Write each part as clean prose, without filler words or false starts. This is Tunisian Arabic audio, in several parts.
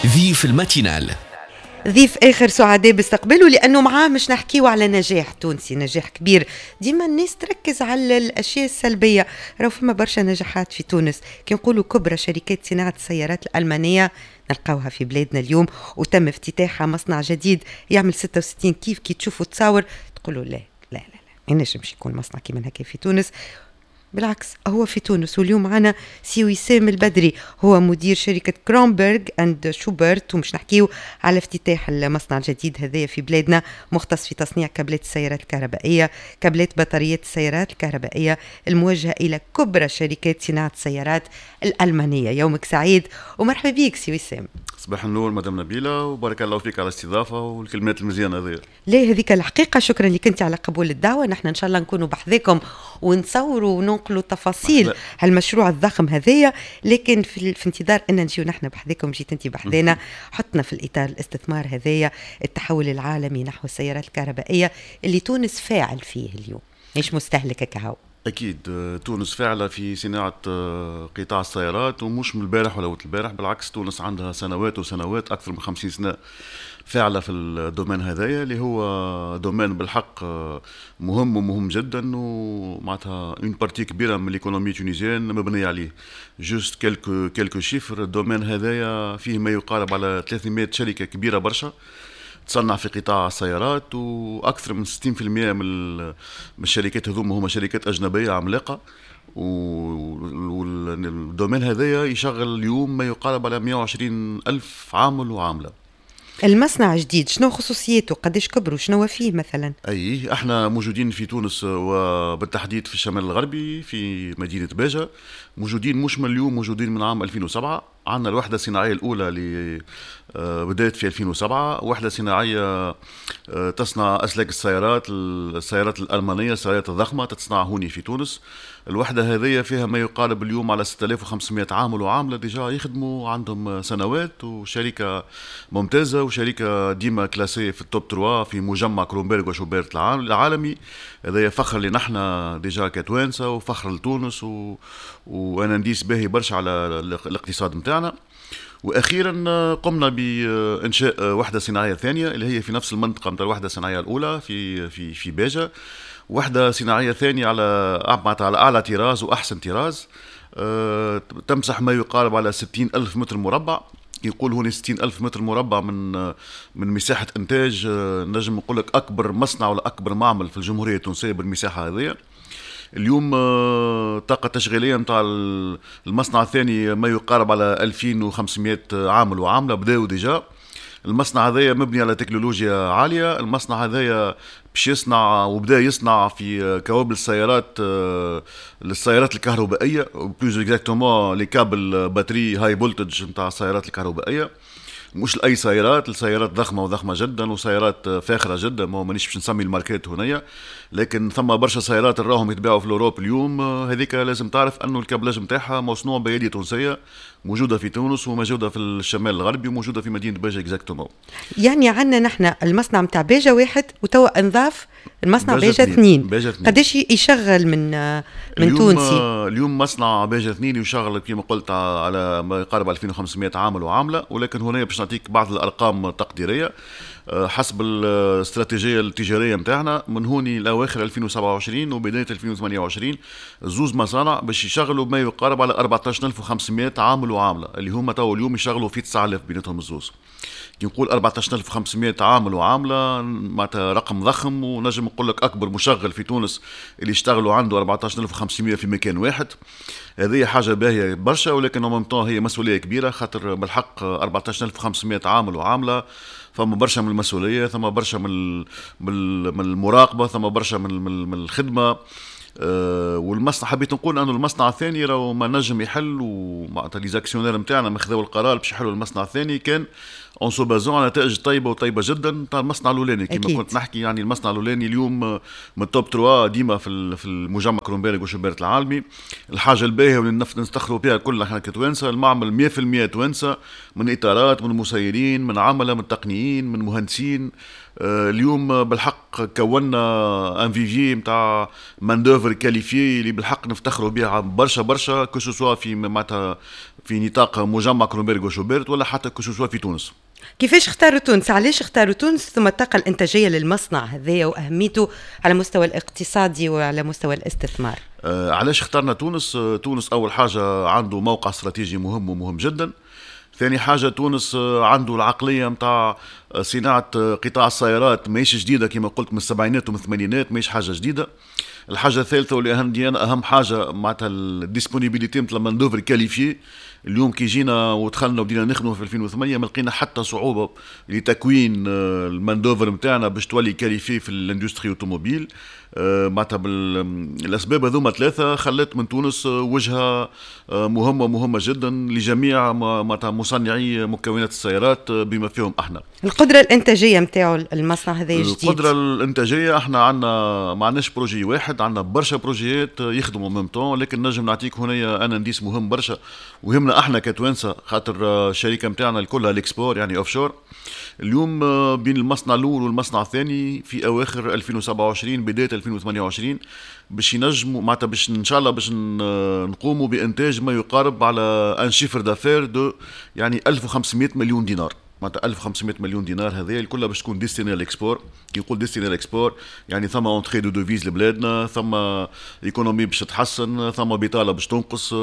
ضيف ال matinale. ضيف اخر سعداء باستقباله، لانه معاه مش نحكيو على نجاح تونسي، نجاح كبير. ديما الناس تركز على الاشياء السلبيه، راهو فما برشا نجاحات في تونس. كي نقولوا كبرى شركات صناعة السيارات الالمانية نلقاوها في بلادنا اليوم، وتم افتتاحها مصنع جديد يعمل 66 كيف. كي تشوفوا تصاور تقولوا لا لا لا لا، ما ينجمش يكون مصنع كيما هكا في تونس. بالعكس، هو في تونس. واليوم معنا سي وسام البدري، هو مدير شركة كرونبرغ اند شوبرت، ومش نحكيو على افتتاح المصنع الجديد هذايا في بلادنا، مختص في تصنيع كابلات السيارات الكهربائية، كابلات بطاريات السيارات الكهربائية الموجهة إلى كبرى شركات صناعة السيارات الألمانية. يومك سعيد ومرحبا بك سي وسام. صباح النور مدام نبيلة، وبارك الله فيك على الاستضافة والكلمات المزيانة هذه. لا، هذيك الحقيقة. شكرا لك أنت على قبول الدعوة. نحن إن شاء الله نكونوا بحذاكم ونصوروا وننقلوا تفاصيل هالمشروع الضخم هذايا، لكن في انتظار ان نجيو نحن بحذاكم، جيت انت بحذانا. حطنا في الاطار الاستثمار هذايا، التحول العالمي نحو السيارات الكهربائية اللي تونس فاعل فيه اليوم، مش مستهلكه كهو. اكيد، تونس فاعله في صناعة قطاع السيارات، ومش من البارح ولا وقت البارح. بالعكس، تونس عندها سنوات وسنوات، اكثر من 50 سنة فاعله في ال domaine هذايا، اللي هو domaine بالحق مهم ومهم جدا، ومعناتها une partie كبيرة من l'économie tunisienne مبنية عليه. juste quelques chiffres، ال domaine هذايا فيه ما يقارب على 300 شركة كبيرة برشا تصنع في قطاع السيارات، واكثر من 60% من الشركات هذوما هما شركات اجنبية عملاقه. وال domaine هذايا يشغل اليوم ما يقارب على 120 الف عامل وعامله. المصنع جديد، شنو خصوصيته؟ قداش كبروا؟ شنو فيه مثلا؟ اي، احنا موجودين في تونس وبالتحديد في الشمال الغربي في مدينة باجه. موجودين مش من اليوم، موجودين من عام 2007. عندنا الوحدة الصناعية الاولى اللي بدات في 2007، وحده صناعية تصنع اسلاك السيارات، السيارات الالمانيه، السيارات الضخمة تتصنع هوني في تونس. الوحدة هذه فيها ما يقارب اليوم على 6500 عامل وعامله déjà يخدموا عندهم سنوات، وشركه ممتازة وشركه ديما classée في ال top 3 في مجمع كرومبيرغ وشوبيرت العالمي. هذا فخر لنا احنا déjà كتوانسه وفخر لتونس و un indice باهي برشا على الاقتصاد نتاعنا. واخيرا قمنا بانشاء وحده صناعية ثانية اللي هي في نفس المنطقة نتاع الوحدة الصناعية الاولى في باجه، وحده صناعية ثانية على اعلى طراز واحسن طراز، تمسح ما يقارب على 60 ألف متر مربع. يقول هنا 60 ألف متر مربع من مساحة إنتاج، نجم نقول لك أكبر مصنع ولا أكبر معمل في الجمهورية التونسية بالمساحة هذه. اليوم الطاقة التشغيلية نتاع المصنع الثاني ما يقارب على 2500 عامل وعاملة بداوا déjà. المصنع هذايا مبني على تكنولوجيا عالية. المصنع هذايا باش يصنع وبدا يصنع في كوابل السيارات، للسيارات الكهربائية، plus exactement les câbles batterie high voltage نتاع السيارات الكهربائية. مش لاي سيارات، السيارات ضخمة وضخمه جدا وسيارات فاخره جدا. ما مانيش باش نسمي الماركات هنايا، لكن ثم برشا سيارات راهم يتباعوا في l'Europe اليوم. هذيك لازم تعرف انه ال câblage نتاعها مصنوع بيدي تونسيه، موجودة في تونس وموجودة في الشمال الغربي وموجودة في مدينة باجه exactement. يعني عندنا نحن المصنع نتاع باجه واحد، وتوا انضاف المصنع باجه اثنين. باجة اثنين قداش يشغل من اليوم تونسي؟ اليوم مصنع باجه اثنين يشغل كما قلت على ما يقارب 2500 عامل وعامله، ولكن هنا باش نعطيك بعض الارقام التقديريه حسب الاستراتيجية التجارية نتاعنا، من هوني لاواخر 2027 وبداية 2028 زوز مصانع باش يشغلوا ما يقارب على 14500 عامل وعامله، اللي هما تو اليوم يشغلوا في 9000 بيناتهم الزوز. كي نقول 14500 عامل وعامله معناتها رقم ضخم، ونجم نقول لك اكبر مشغل في تونس اللي يشتغلوا عنده 14500 في مكان واحد. هذه حاجة باهيه برشا، ولكن en même temps هي مسؤولية كبيره، خاطر بالحق 14500 عامل وعامله فما برشا من المسؤوليه، ثم برشا من المراقبه، ثم برشا من الخدمه. والمصنع، حبيت نقول انه المصنع الثاني راهو ما نجم يحل، ومعناتها les actionnaires نتاعنا ما خذوا القرار باش يحلوا المصنع الثاني كان en se basant على نتائج طيبة وطيبة جدا تاع المصنع الاولاني. كما كنت نحكي، يعني المصنع الاولاني اليوم من ال top 3 ديما في المجمع كرومبيرغ وشوبرت العالمي. الحاجة الباهيه واللي نفتخروا بها كلنا احنا كتوانسه، المعمل 100% توانسه، من اطارات، من مسيرين، من عمله، من تقنيين، من مهندسين. اليوم بالحق كونا un vivier نتاع main d'œuvre qualifiée اللي بالحق نفتخروا بها برشا برشا، que ce soit في معناتها في في نطاق مجمع كرونبرغ وشوبرت ولا حتى que ce soit في تونس. كيفاش اختاروا تونس؟ علاش اختاروا تونس؟ ثم الطاقة الإنتاجية للمصنع هذايا وأهميته على المستوى الاقتصادي وعلى مستوى الاستثمار. علاش اخترنا تونس؟ تونس أول حاجة عنده موقع استراتيجي مهم ومهم جدا. ثاني حاجة تونس عنده العقلية نتاع صناعة قطاع السيارات ماهيش جديدة، كما قلت من السبعينات ومن الثمانينات، ماهيش حاجة جديدة. الحاجة الثالثة واللي أهم أهم حاجة معناتها ال disponibilité نتاع main d'œuvre qualifiée. اليوم كي جينا ودخلنا وبدينا نخدموا في 2008 ما لقينا حتى صعوبة لتكوين ال main d'œuvre نتاعنا باش تولي qualifiée في l'industrie automobile. معناتها الاسباب هذوما ثلاثة خلت من تونس وجهه مهمة مهمة جدا لجميع معناتها مصنعي مكونات السيارات بما فيهم احنا. القدرة الانتاجية نتاعو المصنع هذا جديد. القدرة الانتاجية احنا عندنا ما عندناش projet واحد، عندنا برشا projets يخدموا même temps، لكن نجم نعطيك هنا un indice مهم برشا ويهمنا احنا كتوانسه، خاطر الشركة نتاعنا الكلها l'export يعني offshore. اليوم بين المصنع الاول والمصنع الثاني في اواخر 2027 بداية 2028 باش ينجموا معناتها باش ان شاء الله باش نقوموا بانتاج ما يقارب على un chiffre d'affaires de يعني 1500 مليون دينار. معناتها 1500 مليون دينار هذه الكل باش تكون destinée à l'export. كي نقول destinée à l'export يعني ثم entrée de devises لبلادنا، ثم économie باش تتحسن، ثم بطاله باش تنقص،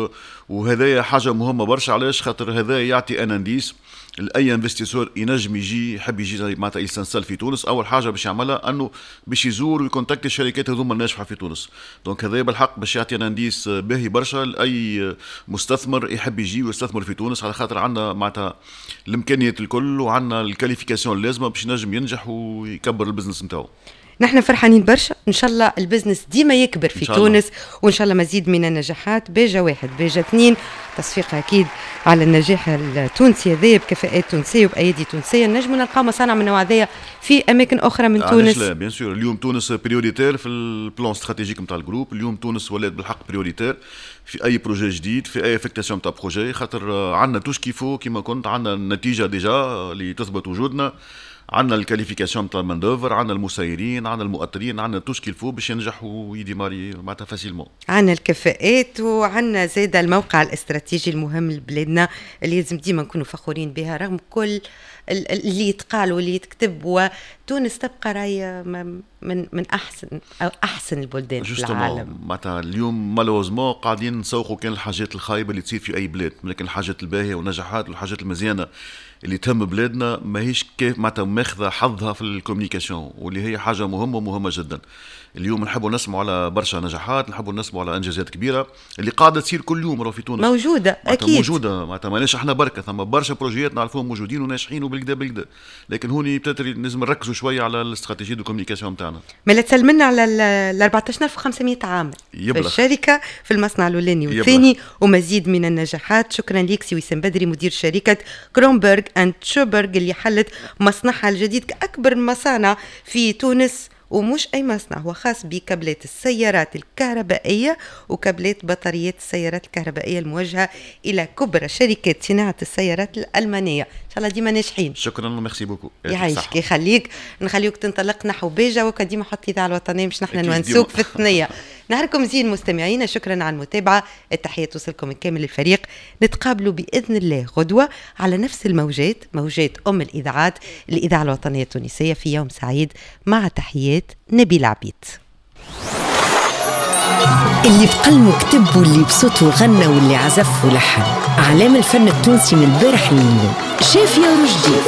وهذايا حاجة مهمة برشا. علاش؟ خاطر هذا يعطي un indice لاي investisseur ينجم يجي يحب يجي معناتها ي s'installe في تونس. اول حاجة باش يعملها انه باش يزور وي contacter الشركات هذوما الناجحة في تونس. donc هذا بالحق باش يعطي un indice باهي برشا لاي مستثمر يحب يجي ويستثمر في تونس، على خاطر عندنا معناتها الامكانيات الكل وعندنا ال qualification اللازمة باش ينجم ينجح ويكبر ال business نتاعو. نحن فرحانين برشا، ان شاء الله ال business ديما يكبر في تونس، وان شاء الله مزيد من النجاحات. باجة واحد، باجة اثنين، تصفيق اكيد على النجاح التونسي هذا بكفاءات تونسية وبايدي تونسيه. نجم نلقاو مصانع من النوع هذايا في اماكن اخرى من تونس؟ لا، bien sûr. اليوم تونس prioritaire في ال plan stratégique نتاع ال groupe. اليوم تونس ولات بالحق prioritaire في اي projet جديد، في اي affectation تاع projet، خاطر عندنا tout ce qu'il faut. كيما كنت عندنا النتيجة déjà اللي تثبت وجودنا، عندنا ال qualification تاع ال main d'œuvre، عندنا المسيرين، عندنا المؤطرين، عندنا tout ce qu'il faut باش ينجح وي démarrer معناتها facilement. عندنا الكفاءات وعندنا زاد الموقع الاستراتيجي المهم لبلادنا اللي لازم ديما نكونوا فخورين بها رغم كل اللي يتقال واللي يتكتب. وتونس تبقى راي من احسن او احسن البلدان في العالم. معناتها اليوم malheureusement قاعدين نسوقوا كان الحاجات الخايبة اللي تصير في اي بلاد، لكن الحاجات الباهيه والنجاحات والحاجات المزيانه اللي تهم بلادنا ماهيش كيف معناتها ماخذه حظها في ال communication، واللي هي حاجة مهمة ومهمة جدا. اليوم نحبوا نسمعوا على برشا نجاحات، نحبوا نسمعوا على انجازات كبيرة اللي قاعدة تصير كل يوم راهو في تونس. موجوده. اكيد. موجوده، معناتها ماناش احنا بركه، ثم برشا projets نعرفوهم موجودين وناجحين وبالكدا بالكدا، لكن هوني peut-être لازم نركزوا شوية على la stratégie de communication نتاعنا. مالا تسلمنا على ال 14500 عامل في الشركه، في المصنع الاولاني والثاني، ومزيد من النجاحات. شكرا لك سي وسام بدري، مدير شركة كرونبرغ اند شوبرغ اللي حلت مصنعها الجديد كاكبر مصانع في تونس، ومش أي مصنع، هو خاص بكابلات السيارات الكهربائية وكابلات بطاريات السيارات الكهربائية الموجهة إلى كبرى شركات صناعة السيارات الألمانية. إن شاء الله ديما ناجحين. شكرا، merci beaucoup. يعيشك، يخليك. نخليوك تنطلق نحو باجة، وكديما حط الإذاعة الوطنية باش نحن نونسوك في الثنية. نهاركم زين مستمعينا، شكرا على المتابعة، التحية توصلكم من كامل الفريق. نتقابلوا بإذن الله غدوة على نفس الموجات، موجات أم الإذاعات الإذاعة الوطنية التونسية، في يوم سعيد، مع تحيات نبيل عبيد. اللي بقلمه كتب واللي بصوته غنى واللي عزف ولحن، أعلام الفن التونسي من البارح لليوم، شافية ورشدي.